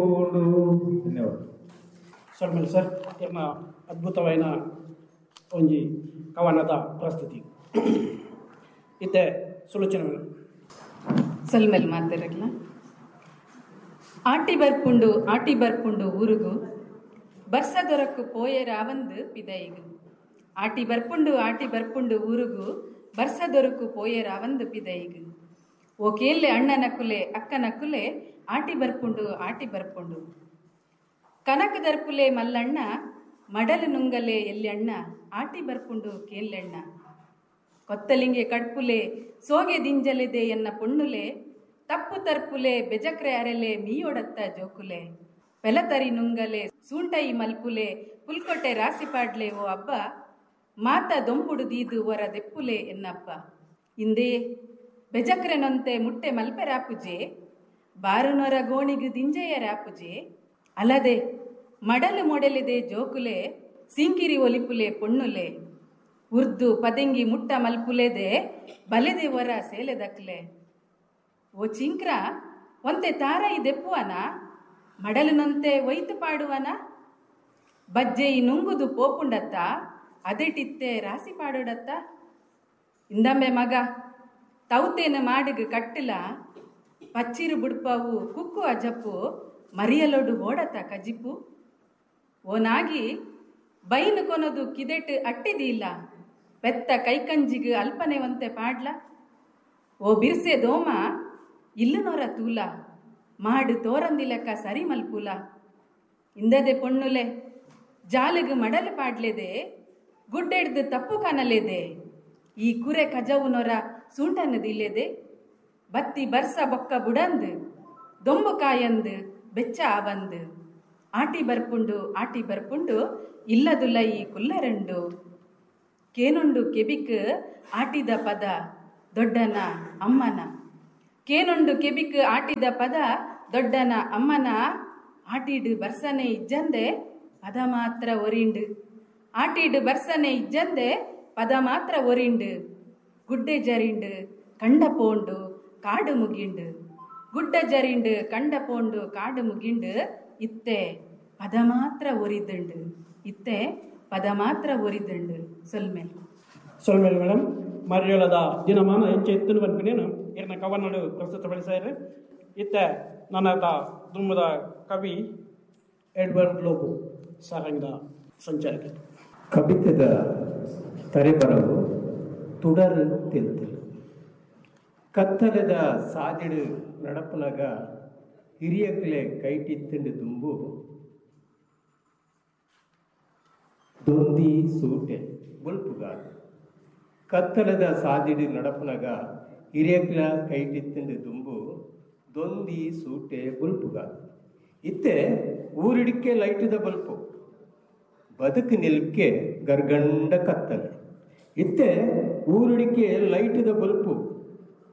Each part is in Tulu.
ಪೋಂಡು. ಧನ್ಯವಾದ. ಸೊಲ್ಮೆಲ್ ಸರ್, ಇರ್ನ ಅದ್ಭುತವಾಯಿನ ಒಂಜಿ ಕವನದ ಪ್ರಸ್ತುತಿ ಇತ್ತೆ ಸುಲೋಚನೆ. ಸೊಲ್ಮೆಲ್ ಮಾತಾರಗ್ಲ. ಆಟಿ ಬರ್ಪುಂಡು ಆಟಿ ಬರ್ಪುಂಡು ಊರುಗು, ಬರ್ಸ ದೊರಕು ಪೋಯೆರಾವಂದು ಪಿದೈಗು. ಆಟಿ ಬರ್ಪುಂಡು ಆಟಿ ಬರ್ಪುಂಡು ಊರುಗು, ಬರ್ಸ ದೊರಕು ಪೋಯೆರಾವಂದು ಪಿದೈಗು. ಓ ಕೇಲ್ಲೆ ಅಣ್ಣನ ಕುಲೆ ಅಕ್ಕನ ಕುಲೆ, ಆಟಿ ಬರ್ಪುಂಡು ಆಟಿ ಬರ್ಪುಂಡು. ಕನಕ ದರ್ಪುಲೆ ಮಲ್ಲಣ್ಣ, ಮಡಲು ನುಂಗಲೆ ಎಲ್ಯಣ್ಣ, ಆಟಿ ಬರ್ಪುಂಡು ಕೇಲ್ಲೆಣ್ಣ. ಕೊತ್ತಲಿಂಗೆ ಕಡ್ಪುಲೆ ಸೋಗೆ ದಿಂಜಲೆದೆ ಎನ್ನ ಪೊಣ್ಣುಲೆ, ತಪ್ಪು ತರ್ಪುಲೆ ಬೆಜಕ್ರೆ ಅರೆಲೆ ಮೀಯೊಡತ್ತ ಜೋಕುಲೆ. ಪೆಲತರಿ ನುಂಗಲೆ ಸೂಂಟೈ ಮಲ್ಪುಲೆ ಪುಲ್ಕೊಟ್ಟೆ ರಾಸಿ ಪಾಡ್ಲೆ ಓ ಅಬ್ಬ, ಮಾತ ದೊಂಬುಡು ದೀದು ಒರ ದೆಪ್ಪುಲೆ ಎನ್ನಪ್ಪ. ಇಂದೇ ಬೆಜಕ್ರೆನೊಂತೆ ಮುಟ್ಟೆ ಮಲ್ಪೆ ರಾಪುಜೆ, ಬಾರುನೊರ ಗೋಣಿಗು ದಿಂಜೆಯ ರಾಪುಜೆ. ಅಲ್ಲದೆ ಮಡಲು ಮೊಡಲಿದೆ ಜೋಕುಲೆ, ಸಿಂಕಿರಿ ಒಲಿಪುಲೆ ಪೊಣ್ಣುಲೆ. ಉರ್ದು ಪದೆಂಗಿ ಮುಟ್ಟ ಮಲ್ಪುಲೆದೆ ಬಲೆದೆ ಒರ ಸೇಲೆದಕ್ಲೆ. ಓ ಚಿಂಕ್ರ ಒಂತೆ ತಾರೈ ದೆಪ್ಪುವನ, ಮಡಲಿನಂತೆ ಒಯ್ತು ಪಾಡುವನ. ಬಜ್ಜೆಯಿ ನುಂಗುದು ಪೋಪುಂಡತ್ತ, ಅದೆಟಿತ್ತೆ ರಾಸಿ ಪಾಡೋಡತ್ತ. ಇಂದಂಬೆ ಮಗ ತೌತೇನ ಮಾಡಿಗ ಕಟ್ಟಿಲ, ಪಚ್ಚಿರು ಬುಡ್ಪವು ಕುಕ್ಕು ಅಜಪ್ಪು, ಮರಿಯಲೊಡು ಓಡತ್ತ ಕಜಿಪು. ಓನಾಗಿ ಬೈನು ಕೊನದು ಕಿದೆಟ್ ಅಟ್ಟಿದಿಲ್ಲ, ಪೆತ್ತ ಕೈಕಂಜಿಗು ಅಲ್ಪನೆ ಒಂತೆ ಪಾಡ್ಲ. ಓ ಬಿರ್ಸೆ ದೋಮ ಇಲ್ಲುನೊರ ತೂಲ, ಮಾಡು ತೋರಂದಿಲಕ್ಕ ಸರಿ ಮಲ್ಪುಲ. ಇಂದದೆ ಪೊಣ್ಣುಲೆ ಜಾಲಿಗು ಮಡಲು ಪಾಡ್ಲೆದೆ, ಗುಡ್ಡೆಡ್ದು ತಪ್ಪು ಕಾಣಲೇದೆ. ಈ ಕುರೆ ಕಜವುನೊರ ಸೂಂಟನ್ನದಿಲ್ಲೆದೆ, ಬತ್ತಿ ಬರ್ಸ ಬೊಕ್ಕ ಬುಡಂದು ದೊಂಬು ಕಾಯಂದು ಬೆಚ್ಚ ಆವಂದು. ಆಟಿ ಬರ್ಪುಂಡು ಆಟಿ ಬರ್ಪುಂಡು ಇಲ್ಲದುಲ್ಲ ಈ ಕುಲ್ಲರಂಡು. ಕೇನುಂಡು ಕೆಬಿಕ್ ಆಟಿದ ಪದ ದೊಡ್ಡನ ಅಮ್ಮನ, ಕೇನುಂಡು ಕೆಬಿಕ್ ಆಟಿದ ಪದ ದೊಡ್ಡನ ಅಮ್ಮನ. ಆಟಿಡು ಬರ್ಸನೆ ಇಜ್ಜಂದೆ ಪದ ಮಾತ್ರ ಒರಿಂಡು, ಆಟಿಡು ಬರ್ಸನೆ ಇಜ್ಜಂದೆ ಪದ ಮಾತ್ರ ಒರಿಂಡು. ಗುಡ್ಡೆ ಜರಿಂಡು ಕಂಡ ಪೋಂಡು ಕಾಡು ಮುಗಿಂಡು, ಗುಡ್ಡ ಜರಿಂಡು ಕಂಡ ಪೋಂಡು ಕಾಡು ಮುಗಿಂಡು. ಇತ್ತೆ ಪದ ಮಾತ್ರ ಒರಿದಂಡು, ಇತ್ತೆ ಪದ ಮಾತ್ರ ಒರಿದಂಡು. ಸೊಲ್ಮೆಲ್. ಸೊಲ್ಮೆಲ್ ಮೇಡಮ್. ಮರ್ಯೋಳದ ದಿನಮಾನ ಎಂಚ ಎತ್ತನು ಪನ್ಪಿನೇನು ಇರ್ನ ಕವನಡು ಪ್ರಸ್ತುತಪಡಿಸಾರೆ. ಇತ್ತೆ ನನ್ನದ ದುಮ್ಮದ ಕವಿ ಎಡ್ವರ್ಡ್ ಲೋಬೋ ಸಾರಂಗದ ಸಂಚಾರಕ. ಕವಿತೆದ ತರೆಬರವು ತುಡರು ತೆಲ್ತಿಲ್. ಕತ್ತಲೆದ ಸಾದಿಡು ನಡಪನಗ ಹಿರಿಯಕ್ಲೆ ಕೈಟಿತ್ತಂಡು ದುಂಬು ದೊಂದಿ ಸೂಟೆ ಬೊಲ್ಪುಗಾದು. ಕತ್ತಲದ ಸಾದಿಡು ನಡಪನಗ ಹಿರಿಯಕ್ಲ ಕೈಟಿತ್ತಂಡು ದುಂಬು ದೊಂದಿ ಸೂಟೆ ಬೊಲ್ಪುಗಾದು. ಇತ್ತೆ ಊರಿಡಿಕೆ ಲೈಟುದ ಬಲ್ಪು, ಬದುಕು ನಿಲ್ಕೆ ಗರ್ಗಂಡ ಕತ್ತಲೆ. ಇತ್ತೆ ಊರಿಡಿಕೆ ಲೈಟುದ ಬಲ್ಪು,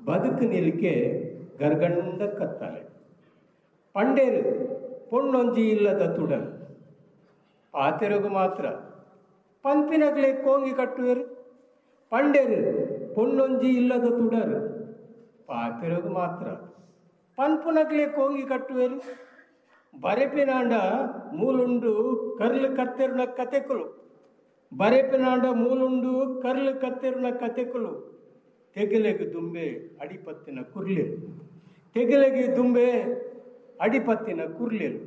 ಬದುಕು ನಿಲ್ಕೆ ಗರ್ಗಂಡ ಕತ್ತಲೆ. ಪಂಡೇರು ಪೊಣ್ಣೊಂಜಿ ಇಲ್ಲದ ತುಡಲು, ಪಾತೆರಗು ಮಾತ್ರ ಪಂಪಿನಗ್ಲೆ ಕೋಂಗಿ ಕಟ್ಟುವೆರು. ಪಂಡೇರು ಪೊಣ್ಣೊಂಜಿ ಇಲ್ಲದ ತುಡರು, ಪಾತೆರಗು ಮಾತ್ರ ಪನ್ಪುನಗ್ಲೆ ಕೋಂಗಿ ಕಟ್ಟುವೆರು. ಬರೆಪಿನಾಂಡ ಮೂಲುಂಡು ಕರ್ಲು ಕತ್ತೆರುನ ಕತೆಕುಲು, ಬರೆಪಿನಾಂಡ ಮೂಲುಂಡು ಕರ್ಲು ಕತ್ತೆರುನ ಕತೆಕುಲು. ತೆಗಲೆಗೆ ದುಂಬೆ ಅಡಿಪತ್ತಿನ ಕುರ್ಲೆರು, ತೆಗಲೆಗೆ ದುಂಬೆ ಅಡಿಪತ್ತಿನ ಕುರ್ಲೆರು.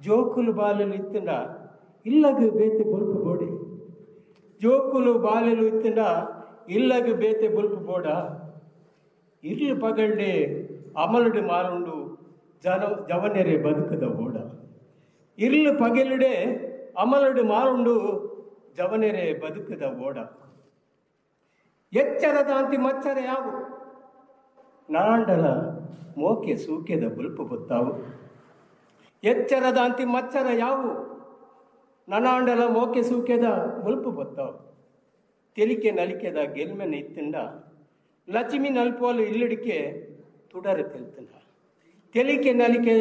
ಜೋಕುಲು ಬಾಲಲು ಇತ್ತಂಡ ಇಲ್ಲಗ ಬೇತೆ ಬೊಲ್ಪು ಬೋಡೆ, ಜೋಕುಲು ಬಾಲಲು ಇತ್ತಂಡ ಇಲ್ಲಗ ಬೇತೆ ಬೊಲ್ಪು ಬೋಡ. ಇರ್ಲು ಪಗಳ್ಳೆ ಅಮಲುಡು ಮಾರುಂಡು ಜನ ಜವನೆರೆ ಬದುಕದ ಓಡ. ಇರ್ಲು ಪಗೆಲುಡೆ ಅಮಲುಡು ಮಾರುಂಡು ಜವನೆರೆ ಬದುಕದ ಓಡ. ಎಚ್ಚರದಾಂತಿ ಮಚ್ಚರ ಯಾವು, ನಾಂಡಲ ಮೋಕೆ ಸೂಕೆದ ಬುಲ್ಪು ಬೊತ್ತಾವು. ಎಚ್ಚರದಾಂತಿ ಮಚ್ಚರ ಯಾವು, ನನಾಂಡಲ ಮೋಕೆ ಸೂಕೆದ ಬುಲ್ಪು ಬೊತ್ತಾವು. ತೆಲಿಕೆ ನಲಿಕೆದ ಗೆಲ್ಮೆನ ಇತ್ತಂಡ ಲಕ್ಷ್ಮಿ ನಲ್ಪೋಲು ಇಲ್ಲಿಡಿಕೆ ತುಡರು ತೆಲ್ತಂಡ. ತೆಲಿಕೆ ನಲಿಕೆ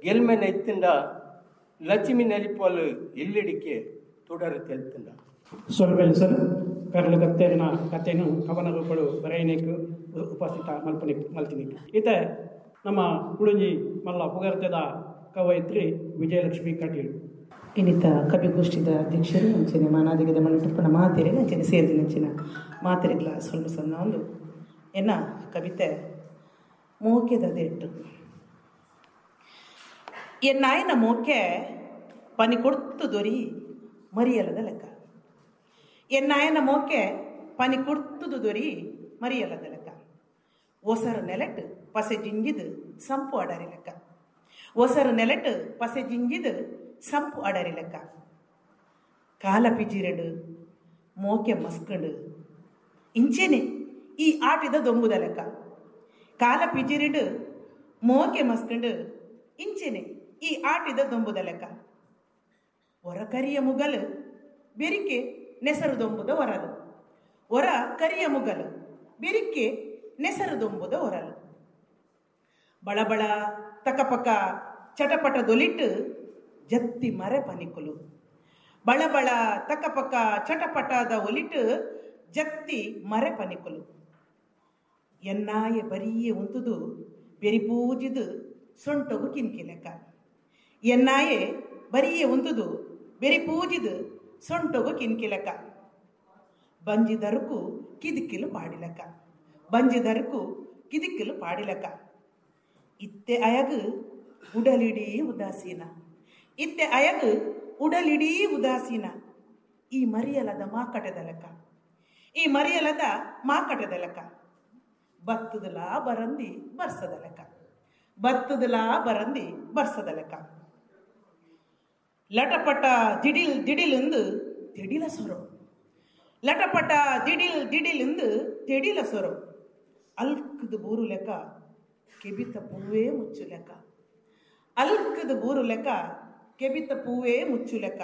ಗೆಲ್ಮೆನ ಇತ್ತಂಡ ಲಕ್ಷ್ಮಿ ನಲಿಪೋಲು ಇಲ್ಲಿಡಿಕೆ ತುಡರು ತೆಲ್ತಂಡ. ಸೊಲ್ಮೆಲ್ ಸರ್. ಕರ್ಲು ಕತ್ತೆರಿನ ಕಥೆನು ಕವನ ರೂಪಳು ಬರೆಯನೇಕು ಉಪಸ್ಥಿತ ಮಲ್ಪನೆ ಮಲ್ತಿನಿ. ಇತ್ತೆ ನಮ್ಮ ಕುಡಂಜಿ ಮಲ್ಲ ಪುಗರ್ತೆದ ಕವಯಿತ್ರಿ ವಿಜಯಲಕ್ಷ್ಮಿ ಕಟೀಲು. ಇನ್ನಿತ ಕವಿಗೋಷ್ಠಿದ ಅಧ್ಯಕ್ಷರು ಅಂಚನೆ ಮಾನಾದಿಗದ ಮಣ್ಣು ಮಾತೆರಿಗೆ ಅಂಚನೆ ಸೇರಿದ ನಂಚಿನ ಮಾತೆರಿಗ್ಲ ಸ್ವಲ್ಪ ಸಣ್ಣ ಒಂದು ಎನ್ನ ಕವಿತೆ ಮೋಕೆದ ದೆಟ್ಟು. ಎನ್ನಾಯನ ಮೋಕೆ ಪನಿ ಕೊಡ್ತು ದೊರಿ ಮರಿಯಲದ ಲೆಕ್ಕ. ಎನ್ನಾಯನ ಮೋಕೆ ಪನಿ ಕೊಡ್ತುದು ದೊರಿ ಮರಿಯಲದ ಲೆಕ್ಕ. ಒಸರು ನೆಲೆಟ್ ಪಸೆ ಜಿಂಜಿದು ಸಂಪು ಅಡರಿ ಲೆಕ್ಕ. ಒಸರು ನೆಲೆಟ್ ಪಸೆ ಜಿಂಜಿದು ಸಂಪು ಅಡರಿ ಲೆಕ್ಕ. ಕಾಲ ಪಿಜಿರಡು ಮೋಕೆ ಮಸ್ಕಂಡು ಇಂಚೆನೆ ಈ ಆಟಿದ ದೊಂಬುದ ಲೆಕ್ಕ. ಕಾಲ ಪಿಜಿರಿಡು ಮೋಕೆ ಮಸ್ಕಂಡು ಇಂಚೆನೆ ಈ ಆಟಿದ ದೊಂಬುದ ಲೆಕ್ಕ. ಹೊರ ಕರಿಯ ಮುಗಲು ಬೆರಿಕೆ ನೆಸರು ದೊಂಬುದ ಹೊರಲು. ಹೊರ ಕರಿಯ ಮುಗಲು ಬೆರಿಕೆ ನೆಸರು ದೊಂಬುದ ಹೊರಲು. ಬಳಬಳ ತಕಪಕ ಚಟಪಟ ದೊಲಿಟ್ಟು ಜತ್ತಿ ಮರೆ ಪನಿಕುಲು. ಬಳಬಳ ತಕಪಕ ಚಟಪಟದ ಒಲಿಟ್ಟು ಜತ್ತಿ ಮರೆ ಪನಿಕುಲು. ಎನ್ನಾಯ ಬರಿಯೇ ಉಂತುದು ಬೆರಿಪೂಜಿದು ಸೊಂಟೊಗು ಕಿನ್ಕಿ ಲೆಕ್ಕ. ಎನ್ನಾಯೆ ಬರಿಯೇ ಉಂತುದು ಬೆರಿಪೂಜಿದು ಸೊಂಟೊಗು ಕಿನ್ಕಿ ಲೆಕ್ಕ. ಬಂಜಿದರುಕು ಕಿದಿಕ್ಕಿಲು ಪಾಡಿಲೆಕ್ಕ. ಬಂಜಿದರುಕು ಕಿದಿಕ್ಕಿಲು ಪಾಡಿಲೆಕ್ಕ. ಇತ್ತೆ ಅಯಗು ಉಡಲಿಡೀ ಉದಾಸೀನ. ಇತ್ತೆ ಅಯಗು ಉಡಲಿಡೀ ಉದಾಸೀನ. ಈ ಮರಿಯಲದ ಮಾಕಟದ ಲೆಕ್ಕ. ಈ ಮರಿಯಲದ ಮಾಕಟದ ಲೆಕ್ಕ. ಬತ್ತದಲಾ ಬರಂದಿ ಬರ್ಸದ ಲೆಕ್ಕ. ಬತ್ತದಲಾ ಬರಂದಿ ಬರ್ಸದ ಲೆಕ್ಕ. ಲಟಪಟ ದಿಡಿಲ್ ದಿಡಿಲೆಂದು ತೆಡಿಲ ಸೊರೋ. ಲಟಪಟ ದಿಡಿಲ್ ದಿಡಿಲೆಂದು ತೆಡಿಲ ಸೊರೋ. ಅಲ್ಕದ ಬೂರು ಲೆಕ್ಕ ಕೆಬಿತ ಪೂವೇ ಮುಚ್ಚು ಲೆಕ್ಕ. ಅಲ್ಕದ ಬೂರು ಲೆಕ್ಕ ಕೆಬಿತ ಪೂವೇ ಮುಚ್ಚು ಲೆಕ್ಕ.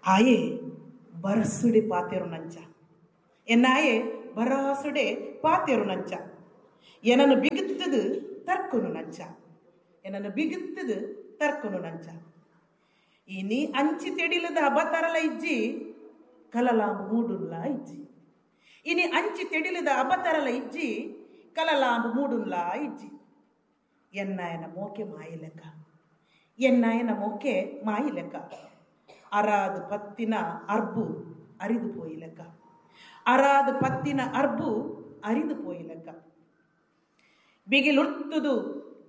ಆಯೆ ಬರಸುಡೆ ಪಾತೆರು ನಂಚ. ಎನ್ನಾಯೆ ಬರಾಸುಡೆ ಪಾತೆರು ನಂಚ. ಏನನ್ನು ಬಿಗುತ್ತದು ತರ್ಕನು ನಂಚ. ಏನನ್ನು ಬಿಗುತ್ತದು ತರ್ಕನು ನಂಚ. ಇನಿ ಅಂಚಿ ತೆಡಿಲದ ಅಬತರಲ ಇಜ್ಜಿ ಕಲಲಾಂಬು ಮೂಡುನ್ಲ ಇಜ್ಜಿ. ಇನಿ ಅಂಚಿ ತೆಡಿಲದ ಅಬತರಲ ಇಜ್ಜಿ ಕಲಲಾಂಬು ಮೂಡುನ್ಲ ಇಜ್ಜಿ. ಎನ್ನಾಯನ ಮೋಕೆ ಮಾಯಿ ಲೆಕ್ಕ. ಎನ್ನಾಯನ ಮೋಕೆ ಮಾಯಿ ಲೆಕ್ಕ. ಅರಾದು ಪತ್ತಿನ ಅರ್ಬು ಅರಿದು ಪೋಯಿ ಲೆಕ್ಕ. ಅರಾದು ಪತ್ತಿನ ಅರ್ಬು ಅರಿದು ಪೋಯಿ ಲೆಕ್ಕ. ಬಿಗಿಲುರ್ತುದು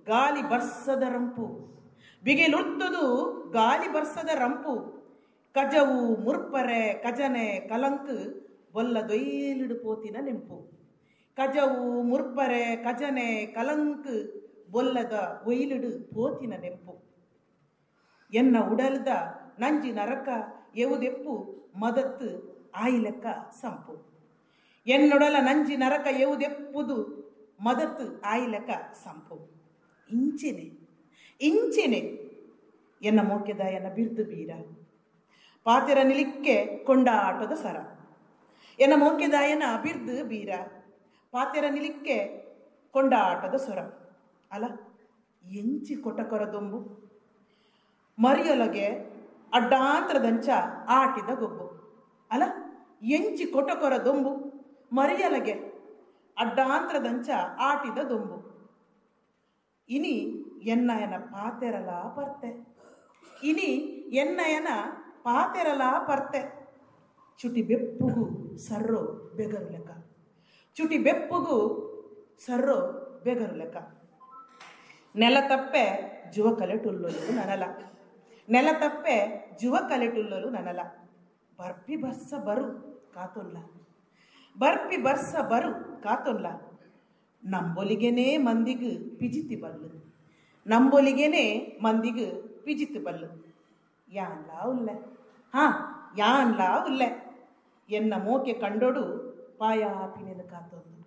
ಗಾಲಿ ಬರ್ಸದ ರಂಪು. ಬಿಗಿಲುರ್ತುದು ಗಾಲಿ ಬರ್ಸದ ರಂಪು. ಕಜವು ಮುರ್ಪರೆ ಕಜನೆ ಕಲಂಕು ಬೊಲ್ಲ ದೊಯ್ಲಿಡು ಪೋತಿನ ನೆಂಪು. ಕಜವು ಮುರ್ಪರೆ ಕಜನೆ ಕಲಂಕು ಬೊಲ್ಲದ ಒಯ್ಲಿಡು ಪೋತಿನ ನೆಂಪು. ಎನ್ನ ಉಡಲ್ದ ನಂಜಿ ನರಕ ಎವುದೆಪ್ಪು ಮದತ್ತು ಆಯಿಲೆಕ್ಕ ಸಂಪು. ಎನ್ನೊಡಲ ನಂಜಿ ನರಕ ಎವುದೆಪ್ಪುದು ಮದತ್ತು ಆಯಿಲೆಕ್ಕ ಸಂಪು. ಇಂಚೆನೆ ಇಂಚೆನೆ ಎನ್ನ ಮೋಕೆದಾಯನ ಬಿರ್ದು ಬೀರ ಪಾತೆರ ನಿಲಿಕ್ಕೆ ಕೊಂಡಾಟದ ಸರ. ಎನ್ನ ಮೋಕೆದಾಯನ ಬಿರ್ದು ಬೀರ ಪಾತೆರ ನಿಲಿಕ್ಕೆ ಕೊಂಡಾಟದ ಸೊರ. ಅಲ್ಲ ಎಂಚಿ ಕೊಟಕೊರ ದೊಂಬು ಮರಿಯೊಲಗೆ ಅಡ್ಡಾಂತರದಂಚ ಆಟಿದ ಗೊಬ್ಬು. ಅಲ್ಲ ಎಂಚಿ ಕೊಟಕೊರ ದೊಂಬು ಮರಿಯಲಗೆ ಅಡ್ಡಾಂತರದಂಚ ಆಟಿದ ದೊಂಬು. ಇನಿ ಎನ್ನಯನ ಪಾತೆರಲ ಪರ್ತೆ. ಇನಿ ಎನ್ನಯನ ಪಾತೆರಲ ಪರ್ತೆ. ಚುಟಿ ಬೆಪ್ಪುಗು ಸರ್ರೋ ಬೆಗರು ಲೆಕ್ಕ. ಚುಟಿ ಬೆಪ್ಪುಗು ಸರ್ರೋ ಬೆಗರು ಲೆಕ್ಕ. ನೆಲ ತಪ್ಪೆ ಜುವ ಕಲೆಟುಲ್ಲಲು ನನಲ. ನೆಲ ತಪ್ಪೆ ಜುವ ಕಲೆಟುಲ್ಲಲು ನನಲ. ಬರ್ಪಿ ಬರ್ಸ ಬರು ಕಾತೊಲ್ಲ. ಬರ್ಪಿ ಬರ್ಸ ಬರು ಕಾತೊಲ್ಲ. ನಂಬೊಲಿಗೆನೇ ಮಂದಿಗು ಪಿಜಿತಿ ಬಲ್ಲು. ನಂಬೊಲಿಗೆನೇ ಮಂದಿಗು ಪಿಜಿತಿ ಬಲ್ಲು. ಯಾನ್ಲಾ ಉಲ್ಲೆ. ಹಾ ಯಾನ್ಲಾ ಉಲ್ಲೆ. ಎನ್ನ ಮೋಕೆ ಕಂಡೊಡು ಪಾಯಾಪಿನೇನು ಕಾತೊಂದು.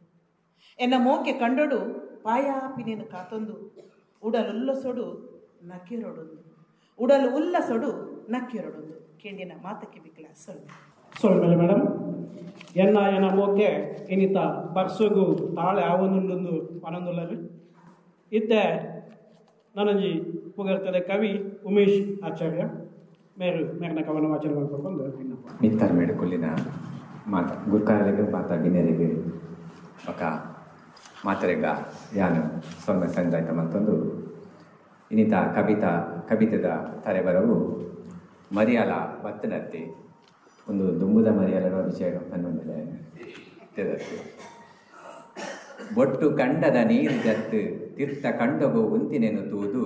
ಎನ್ನ ಮೋಕೆ ಕಂಡೊಡು ಪಾಯಾಪಿನೇನು ಕಾತೊಂದು. ಉಡಲುಲ್ಲಸೊಡು ನಕ್ಕೆರೊಡೊಂದು. ಉಡಲು ಉಲ್ಲಸೊಡು ನಕ್ಕೆರೊಡೊಂದು. ಕೇಂಡಿನ ಮಾತಕ್ಕೆ ಬಿಕ್ಲ ಸೊಲ್ಮೆ. ಸೊಲ್ಮೆಲೆ ಮೇಡಮ್. ಎನ್ನ ಎನ್ನ ಮೋಕೆ ಇನ್ನಿತ ಬರ್ಸಗು ತಾಳೆ ಆವೊಂದುಂಡೊಂದು ಪನೊಂದುಲ್ಲರು. ಇತ್ತೆ ನನಂಜಿ ಪುಗರ್ತದೆ ಕವಿ ಉಮೇಶ್ ಆಚಾರ್ಯ ಮೇರು ಮೇರ್ನ ಕವನ ವಾಚನ ಮಾಡ್ಕೊಂಡು ವಿನ್ನಪ. ಮಿತ್ತರ್ ಮೇಡು ಕೊಲ್ಲಿನ ಮಾತ ಗುರ್ಕಾರರಿಗೆ ಮಾತ ಗಿನ್ನೆರಿಗೆ ఒక ಮಾತರೆಗ ಯಾನು ಸೊನ್ನೆ ಸಂಜಾಯ್ತ ಮತ್ತೊಂದು ಇನ್ನಿತ ಕವಿತೆದ ತರೆಬರವು ಮರಿಯಾಲ ಬತ್ತನತ್ತೆ ಒಂದು ದುಂಬುದ ಮರಿಯಾಲನ ವಿಷಯ ಪನ್ನೊಂದಿಲ್ಲ. ಬೊಟ್ಟು ಕಂಡದ ನೀರು ಜತ್ತು ತೀರ್ಥ ಕಂಡಗು ಉಂತಿನೆನು ತೂದು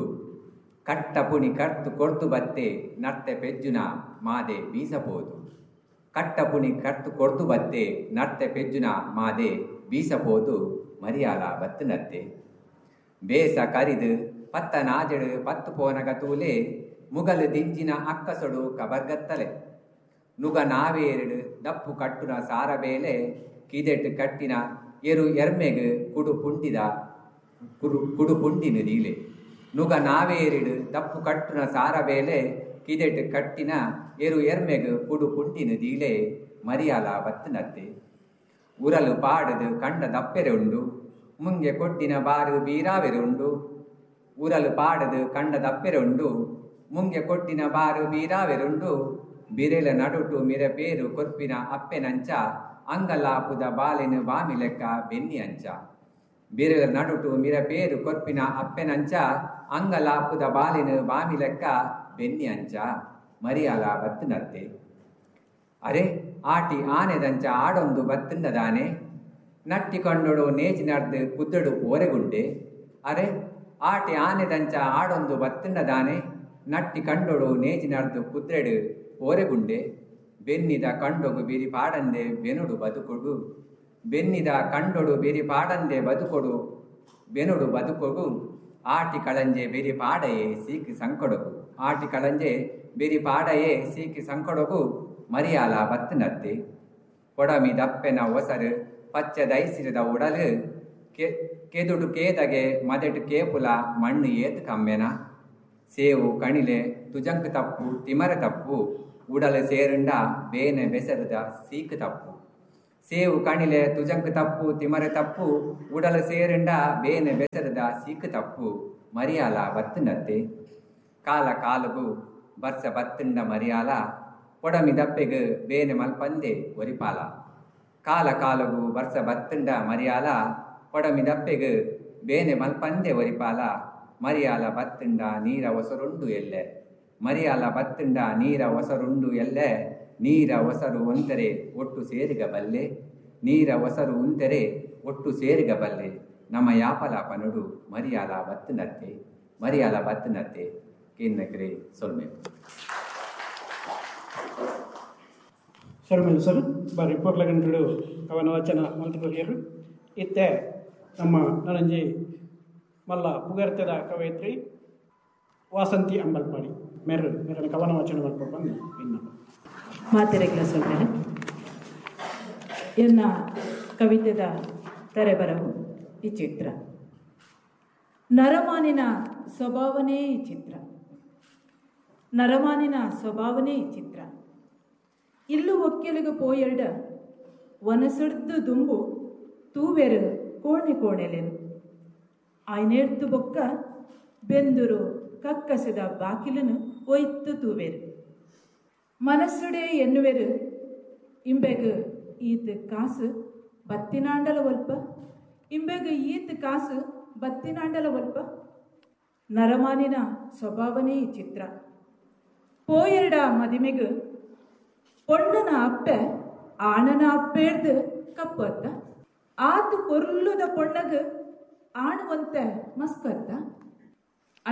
ಕಟ್ಟ ಪುಣಿ ಕರ್ತು ಕೊರ್ತು ಬತ್ತೆ ನರ್ತೆ ಪೆಜ್ಜುನ ಮಾದೆ ಬೀಸಬೋದು. ಕಟ್ಟ ಪುಣಿ ಕರ್ತು ಕೊರ್ತು ಬತ್ತೆ ನರ್ತೆ ಪೆಜ್ಜುನ ಮಾದೆ ಬೀಸಬೋದು ಮರಿಯಾಲ ಬತ್ತನತ್ತೆ. ಬೇಸ ಕರಿದು ಪತ್ತ ನಾಜಡು ಪತ್ತು ಪೋನಗ ತೂಲೆ ಮುಗಲು ದಿಂಜಿನ ಅಕ್ಕಸೊಡು ಕಬರ್ಗತ್ತಲೆ ನುಗ ನಾವೇರಡು ದಪ್ಪು ಕಟ್ಟುನ ಸಾರಬೇಲೆ ಕಿದೆಟ್ಟು ಕಟ್ಟಿನ ಎರು ಎರ್ಮೆಗು ಕುಡು ಪುಂಡಿದ ಕುಡು ಪುಂಡಿನ ದೀಲೆ ನುಗ ನಾವೇರಿಡು ದಪ್ಪು ಕಟ್ಟುನ ಸಾರಬೇಲೆ ಕಿದೆಟ್ಟು ಕಟ್ಟಿನ ಎರು ಎರ್ಮೆಗು ಕುಡು ಪುಂಡಿನ ದೀಲೆ ಮರಿಯಾಲ ಬತ್ತನತ್ತೆ. ಉರಲು ಪಾಡದು ಕಂಡ ದಪ್ಪೆರೆ ಉಂಡು ಮುಂಗೆ ಕೊಟ್ಟಿನ ಬಾರು ಬೀರಾವೆರೆ ಉಂಡು. ಉರಲು ಪಾಡದು ಕಂಡ ದಪ್ಪೆರೆ ಉಂಡು ಮುಂಗೆ ಕೊಟ್ಟಿನ ಬಾರು ಬೀರಾವೆರುಂಡು. ಬಿರೆಲ ನಡುಟು ಮಿರ ಪೇರು ಕೊರ್ಪಿನ ಅಪ್ಪೆನಂಚ ಅಂಗಲಾಪುದ ಬಾಲಿನ ಬಾಮಿ ಲೆಕ್ಕ ಬೆನ್ನಿ ಅಂಚ. ಬಿರೆಲ ನಡುಟು ಮಿರ ಪೇರು ಕೊರ್ಪಿನ ಅಪ್ಪೆನಂಚ ಅಂಗಲಾಪುದ ಬಾಲಿನ ಬಾಮಿ ಲೆಕ್ಕ ಬೆನ್ನಿ ಅಂಚ ಮರಿಯಾಲ ಬತ್ತನತ್ತೆ. ಅರೆ ಆಟಿ ಆನೆದಂಚ ಆಡೊಂದು ಬತ್ತಂಡದಾನೆ ನಟ್ಟಿ ಕಂಡೊಡು ನೇಜಿ ನಡ್ದು ಕುದ್ದಡು ಓರೆಗುಂಡೆ. ಅರೆ ಆಟಿ ಆನೆದಂಚ ಆಡೊಂದು ಬತ್ತಂಡದಾನೆ ನಟ್ಟಿ ಕಂಡೊಡು ನೇಜಿ ನಡ್ದು ಕುದ್ರೆಡು ಓರೆಗುಂಡೆ. ಬೆನ್ನಿದ ಕಂಡೊಗು ಬಿರಿ ಪಾಡಂದೆ ಬೆನುಡು ಬದುಕೊಡು ಬೆನ್ನಿದ ಕಂಡೊಡು ಬಿರಿ ಪಾಡಂದೆ ಬದುಕೊಡು ಬೆನುಡು ಬದುಕೊಡು. ಆಟಿ ಕಳಂಜೆ ಬಿರಿ ಪಾಡಯೇ ಸೀಕಿ ಸಂಕಡಗು ಆಟಿ ಕಳಂಜೆ ಬಿರಿ ಪಾಡಯೇ ಸೀಕಿ ಸಂಕಡಗು ಮರಿಯಾಲ ಬತ್ತನತ್ತೆ. ಕೊಡಮಿ ದಪ್ಪೆನ ಒಸರು ಪಚ್ಚ ದೈಸಿರದ ಉಡಲು ಕೆದುಡು ಕೇದಗೆ ಮದೆಟು ಕೇಪುಲ ಮಣ್ಣು ಏತು ಕಮ್ಮೆನ. ಸೇವು ಕಣಿಲೆ ತುಜಂಕು ತಪ್ಪು ತಿಮರೆ ತಪ್ಪು ಉಡಲು ಸೇರುಂಡ ಬೇನೆ ಬೆಸರದ ಸೀಕು ತಪ್ಪು. ಸೇವು ಕಣಿಲೆ ತುಜಂಕು ತಪ್ಪು ತಿಮರೆ ತಪ್ಪು ಉಡಲು ಸೇರುಂಡ ಬೇನೆ ಬೆಸರದ ಸೀಕು ತಪ್ಪು ಮರಿಯಾಲ ಬತ್ತನತ್ತೆ. ಕಾಲ ಕಾಲುಗು ಬರ್ಸ ಬತ್ತಂಡ ಮರಿಯಾಲ ಕೊಡಮಿ ದಪ್ಪೆಗು ಬೇನೆ ಮಲ್ಪಂದೆ ಒರಿಪಾಲ. ಕಾಲ ಕಾಲುಗು ಬರ್ಸ ಬತ್ತಂಡ ಮರಿಯಾಲ ಕೊಡಮಿ ದಪ್ಪೆಗು ಬೇನೆ ಮಲ್ಪಂದೆ ಒರಿಪಾಲ. ಮರಿಯಾಲ ಬತ್ತಂಡ ನೀರ ಒಸರುಂಡು ಎಲ್ಲೆ ಮರಿಯಾಲ ಬತ್ತಂಡ ನೀರ ಒಸರುಂಡು ಎಲ್ಲೆ. ನೀರ ಒಸರು ಒಂದರೆ ಒಟ್ಟು ಸೇರಿಗ ಬಲ್ಲೆ ನೀರ ಒಸರು ಉಂದರೆ ಒಟ್ಟು ಸೇರಿಗ ಬಲ್ಲೆ. ನಮ್ಮ ಯಾಪಲ ಪನುಡು ಮರಿಯಾಲ ಬತ್ತನತ್ತೆ ಮರಿಯಾಲ ಬತ್ತನತ್ತೆ. ಕೇನ್ನಕ್ರೆ ಸೊಲ್ಮೆ ಸೊಲ್ಮೆಲ್ ಸರ್ ಬಾರಿ ಪೊರ್ಲಗಂಟುಡು ಕವನ ವಚನ ಮಲ್ತುಕೊರಿಯರು. ಇತ್ತೆ ನಮ್ಮ ನನಂಜಿ ಮಲ್ಲ ಪುಗರ್ತೆದ ಕವಯಿತ್ರಿ ವಾಸಂತಿ ಅಂಬಲ್ಪಾಡಿ ಮೇರು ಮೇರನ ಕವನ ವಾಚನ ಮಲ್ಪ ಬಂದು ಇನ್ನು ಮಾತೆರೆಗ್ಲ ಸೊಲ್ಮೆಲೆ ಎನ್ನ ಕವಿತೆದ ತರೆಬರವು ಈ ಚಿತ್ರ. ನರಮಾನಿನ ಸ್ವಭಾವನೇ ಈ ಚಿತ್ರ ನರಮಾನಿನ ಸ್ವಭಾವನೇ ಈ ಚಿತ್ರ. ಇಲ್ಲು ಒಕ್ಕೆಲುಗು ಪೋಯೆರಡ ವನಸುಡ್ದು ದುಂಬು ತೂವೆರು ಕೋಣೆ ಕೋಣೆಲೆನು ಆಯ್ನೇರ್ತು ಬೊಕ್ಕ ಬೆಂದುರು ಕಕ್ಕಸದ ಬಾಕಿಲನು ಒಯ್ತು ತೂವೆರು ಮನಸ್ಸುಡೆ ಎನ್ನುವೆರು ಇಂಬೆಗು ಈತ ಕಾಸು ಬತ್ತಿನಾಂಡಲ ಒಲ್ಪ ಇಂಬೆಗು ಈತ ಕಾಸು ಬತ್ತಿನಾಂಡಲ ಒಲ್ಪ. ನರಮಾನಿನ ಸ್ವಭಾವನೇ ಈ ಚಿತ್ರ. ಪೋಯೆರಡ ಮದಿಮೆಗು ಪೊಣ್ಣನ ಅಪ್ಪೆ ಆಣನ ಅಪ್ಪೇರ್ದು ಕಪ್ಪತ್ತ ಆತು ಪೊರ್ಲುದ ಪೊಣ್ಣಗು ಆಣುವಂತೆ ಮಸ್ಕತ್ತ.